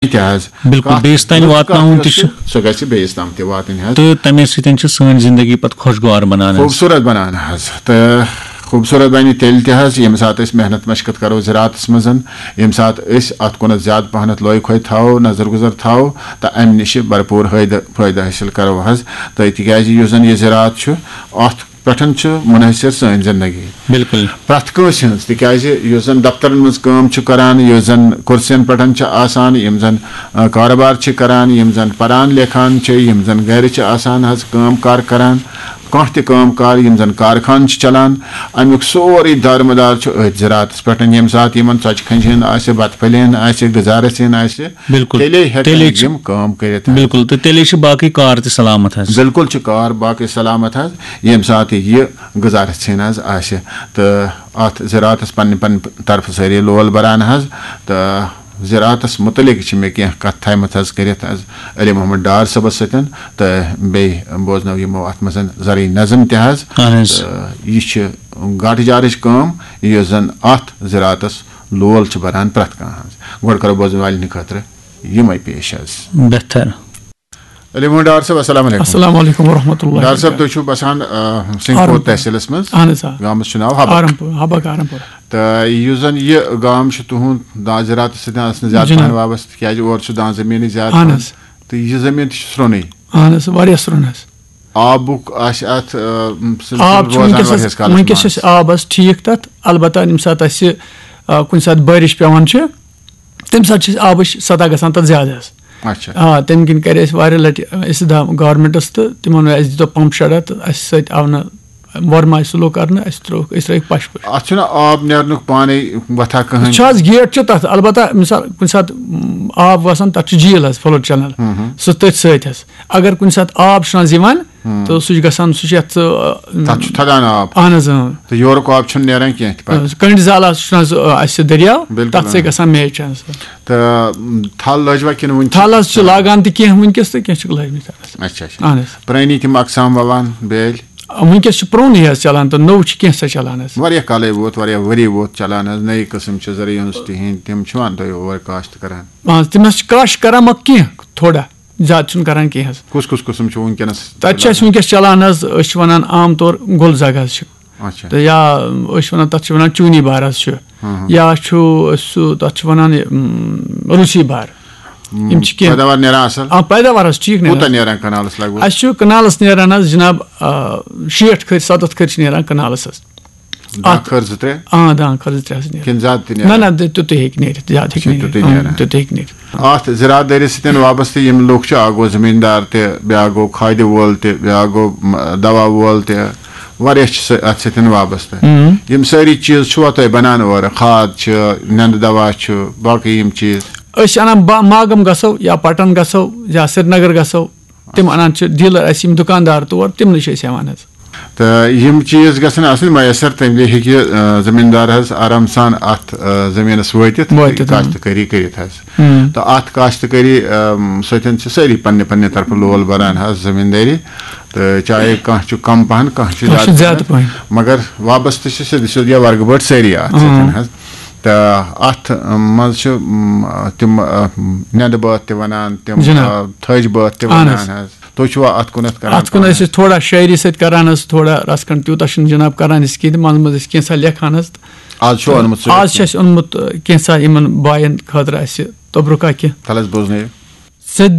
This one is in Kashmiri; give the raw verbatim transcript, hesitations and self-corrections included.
تہِ حظ۔ بِلکُل، کَتھ بیٚیِس تام رٕژ کَتھ واتناوُن یۄس تہِ چھِ، چھُ۔ سۄ گژھِ بیٚیِس تام تہِ واتٕنۍ حظ۔ تہٕ تَمے سۭتۍ چھِ سٲنۍ زندگی پَتہٕ خۄشگوار بَنان حظ۔ خوٗبصوٗرت بَنان حظ۔ تہٕ خوٗبصوٗرت بَنہِ تیٚلہِ تہِ حظ، ییٚمہِ ساتہٕ أسۍ محنت مشقت کَرو زِراعتَس منٛز، ییٚمہِ ساتہٕ أسۍ اَتھ کُنَتھ زیادٕ پَہنَتھ لوے کھوے تھاوو، نظر گُزر تھاوو، تہٕ اَمہِ نِش چھِ بھرپوٗر فٲیدٕ فٲیدٕ حٲصِل کَرو حظ۔ تہٕ تِکیٛازِ یُس زَن یہِ زِراعت چھُ، اَتھ پٮ۪ٹھ چھُ منحصر سٲنۍ زندگی۔ بِلکُل۔ پرٛٮ۪تھ کٲنٛسہِ ہٕنٛز، تِکیٛازِ یُس زَن دفترَن منٛز کٲم چھُ کَران، یُس زَن کُرسِیَن پٮ۪ٹھ چھِ آسان، یِم زَن، آ، کارٕبار چھِ کَران، یِم زَن پَران لیکھان چھِ، یِم زَن گَرِ چھِ آسان حظ کٲم کار کَران، کانٛہہ تہِ کٲم کار، یِم زَن کارخانہٕ چھِ چَلان، اَمیُک سورُے دارمدار چھُ أتھۍ زِراعتَس پٮ۪ٹھ۔ ییٚمہِ ساتہٕ یِمَن ژۄچہِ کھَنجہِ ہٕنٛز آسہِ، بَتہٕ پھٔلہِ ہٕنٛز آسہِ، غذا رَژھِ ہٕنٛز آسہِ، بِلکُل۔ تیٚلے ہٮ۪کَن تیٚلے چھِ یِم کٲم کٔرِتھ حظ۔ بِلکُل، تہٕ تیٚلے چھِ باقٕے کار تہِ سلامت حظ۔ بِلکُل چھِ کار باقٕے سلامت حظ، ییٚمہِ ساتہٕ یہِ غذا رَژھِ ہٕنٛز آسہِ۔ تہٕ اَتھ زِراعتَس پننہِ پننہِ طرفہٕ سٲری لول بَران حظ۔ تہٕ زِراعتَس مُتعلِق چھِ مےٚ کینٛہہ کَتھ تھایمَژ حظ کٔرِتھ حظ علی محمد ڈار صٲبَس سۭتۍ، تہٕ بیٚیہِ بوزنٲو یِمو اَتھ منٛز زرعی نظم تہِ حظ۔ اہن حظ۔ تہٕ یہِ چھِ گاٹہٕ جارٕچ کٲم، یُس زَن اَتھ زِراعتَس لول چھِ بَران پرٛٮ۪تھ کانٛہہ حظ۔ گۄڈٕ کَرو بوزَن والٮ۪ن ہٕنٛدِ خٲطرٕ یِمَے پیش حظ۔ بہتر۔ علی محمد ڈار صٲب، السلام علیکم۔ السلام علیکم ورحمۃ اللہ ڈار صٲب، وبرکاتہ۔ تُہۍ چھِو بسان، آ، سنگھ پور آرمپور۔ تحصیلس منٛز۔ اہن حظ، آ۔ گامس چھُ ناو حبک۔ آرمپور، حبک آرمپور۔ تہٕ یُس زن یہِ گام چھُ تُہُنٛد، دا-، زِراعتس سۭتۍ آسنہٕ زیادٕ جناب۔ پہن وابستہٕ، تِکیازِ اورٕ چھُ دان زٔمیٖنٕے زیادٕ اہن پہن۔ حظ۔ تہٕ یہِ زٔمیٖن تہِ چھُ سرٛونٕے۔ اہن حظ، واریاہ سرٛون حظ۔ آبُک آسہِ اتھ، آ، سلسلہٕ آب چھُ روزان وٕنکیٚس واریاہس حظ، کالس وٕنکیٚس منٛز۔ چھِ أسۍ آبس ٹھیٖک تتھ، البتہ ییٚمہِ ساتہٕ اسہِ، آ، کُنہِ ساتہٕ بٲرِش پٮ۪وان چھِ، تمہِ ساتہٕ چھِ أسۍ آبٕچ سطح گژھان تتھ زیادٕ حظ۔ اچھا۔ آ، تمہِ کِنۍ کرِ اسہِ واریاہ لٹہِ، آ، استدعا گورمنٹس تہٕ تِمن ووٚن، اسہِ دِتو پمپ شیڈا تہٕ اسہِ سۭتۍ آو نہٕ ورما سلو کرنہٕ، اسہِ ترٛووُکھ، أسۍ ترٲوِکھ پشہِ پٲٹھۍ۔ اتھ چھُنہٕ آب نیرنُک پانے وتھا کٕہٕنۍ؟ چھُ حظ گیٹ چھُ تتھ، البتہ مثال کُنہِ ساتہٕ، م، آب وسان، تتھ چھُ جھیٖل حظ، فلوڈ چینل، سُہ تٔتھۍ سۭتۍ حظ۔ اگر کُنہِ ساتہٕ آب چھُنہٕ حظ یِوان، تہٕ سُہ چھُ گژھان، سُہ چھُ یتھ، آ، تتھ چھُ تھدان آب۔ اہن حظ، اۭں۔ تہٕ یورُک آب چھُنہٕ نیران کینٛہہ تہِ پتہٕ۔ آ، کنڈ زال حظ چھُنہٕ حظ، آ، اسہِ دریا، بِلکُل، تتھ سۭتۍ آ۔ گژھان میچ حظ۔ تہٕ، م، تھل لٔج وۄنۍ کِنہٕ وُنہِ چھِ؟ تھل حظ چھِ لاگان تہِ کینٛہہ وٕنکیٚس تہٕ کینٛہہ چھِکھ لٲجمٕتۍ حظ۔ اچھا، اچھا۔ اہن حظ۔ پرٲنی تِم اقسام ووان بیٲلۍ؟ آ، وٕنکیٚس چھُ پرونُے حظ چلان تہٕ نوٚو چھُ کینٛژھا چلان حظ۔ واریاہ کالے ووت، واریاہ ؤری ووت چلان حظ، نٔے قٕسم چھِ زرعی ہٕنٛز تِہِنٛدۍ، تِم چھِ وَن تُہۍ اور کاشت کران؟ آ، تِم حظ چھِ کاشت کران، مگر کینٛہہ تھوڑا، زیادٕ چھُنہٕ کران کینٛہہ حظ۔ کُس کُس قٕسم چھُ وٕنکیٚنس؟ تَتہِ چھِ اَسہِ وٕنکیٚس چلان حظ، أسۍ چھِ وَنان عام طور گُل زَگ حظ چھِ۔ اچھا۔ تہٕ یا أسۍ چھِ وَنان، تَتھ چھِ وَنان چوٗنی بار حظ چھُ۔ یا چھُ سُہ، تَتھ چھِ وَنان یہِ، م، روٗسی بار۔ یِم چھِ کینٛہہ۔ پیداوار نیران اصل؟ آ، پیداوار حظ ٹھیٖک نیران۔ کوٗتاہ نیران کنالس لگ بگ؟ اَسہِ چھُ کنالَس نیران حظ جناب، آ، شیٹھ کھٔرۍ، ستتھ کھٔرۍ چھِ نیران کنالَس حظ۔ دَہ کھٔر زٕ ترٛےٚ؟ آ، دَہ کھٔرۍ زٕ ترٛےٚ حظ نیران۔ کِنہٕ زیادٕ تہِ نہ، نیران؟ نہ، تہِ-، تیُتُے ہیٚکہِ نیٖرِتھ، زیادٕ ہیٚکہِ چھُ نیٖرِتھ۔ تیُتُے آ، نیران۔ تیُتُے ہیٚکہِ نیٖرِتھ۔ اتھ زراعت دٲری سۭتۍ وابستہٕ یِم لُکھ چھِ، اکھ گوٚو زٔمیٖندار تہِ، بیٛاکھ گوٚو کھادِ وول تہِ، بیٛاکھ گوٚو، م، دوا وول تہِ، واریاہ چھِ سہ-، اتھ سۭتۍ وابستہٕ۔ اۭں۔ یِم سٲری چیٖز چھُوا تۄہہِ بنان اورٕ؟ کھاد چھِ، نٮ۪نٛدٕ دوا چھُ، باقٕے یِم چیٖز؟ أسۍ چھِ انان با-، ماگم گژھو یا پٹن گژھو یا سرینگر گژھو، تِم انان چھِ ڈیلر اَسہِ، یِم دُکاندار تور، تِمنٕے چھِ أسۍ ہٮ۪وان حظ۔ تہٕ یِم چیٖز گژھن آسٕنۍ میسر، تَمہِ وِزِ ہیٚکہِ، آ، زٔمیٖندار حظ آرام سان اَتھ، آ، زٔمیٖنَس وٲتِتھ، وٲتِتھ، اۭں۔ کاشتکٲری کٔرِتھ حظ۔ اۭں۔ تہٕ اَتھ کاشتکٲری، آم، سۭتۍ چھِ سٲری پننہِ پننہِ طرفہٕ لول بَران حظ زٔمیٖندٲری۔ تہٕ چاہے کانٛہہ چھُ کَم پَہَن، کانٛہہ چھُ کانٛہہ چھُ زیادٕ زیادٕ پَہَن، پَہَن۔ مگر وابستہٕ چھِ سیٚدِ سیوٚد یا ورگہٕ بٲٹھۍ سٲری اَتھ سۭتۍ اۭں۔ حظ۔ تہٕ اَتھ منٛز چھِ، م، تِم، آ، نٮ۪نٛدٕ بٲتھ تہِ وَنان، تِم، جِناب۔ آ، تھٔج بٲتھ تہِ اَہَن وَنان حظ۔ حظ۔ تُہۍ چھِوا اَتھ کُنَتھ کَران اَتھ کُن کٲم؟ ٲسۍ أسۍ تھوڑا شٲعری سۭتۍ کران حظ، تھوڑا رَژھ کھنٛڈ، تیوٗتاہ چھُنہٕ جِناب کران أسۍ کینٛہہ، تہٕ منٛزٕ منٛزٕ ٲسۍ کینٛژھا لیکھان حظ۔ آز چھُو اوٚنمُت سُہ؟ آز چھِ اَسہِ اوٚنمُت، آ، کینٛژھا یِمن باین خٲطرٕ اَسہِ تبرُکا کینٛہہ۔ تَلہٕ حظ بوزنٲیِو۔ ژےٚ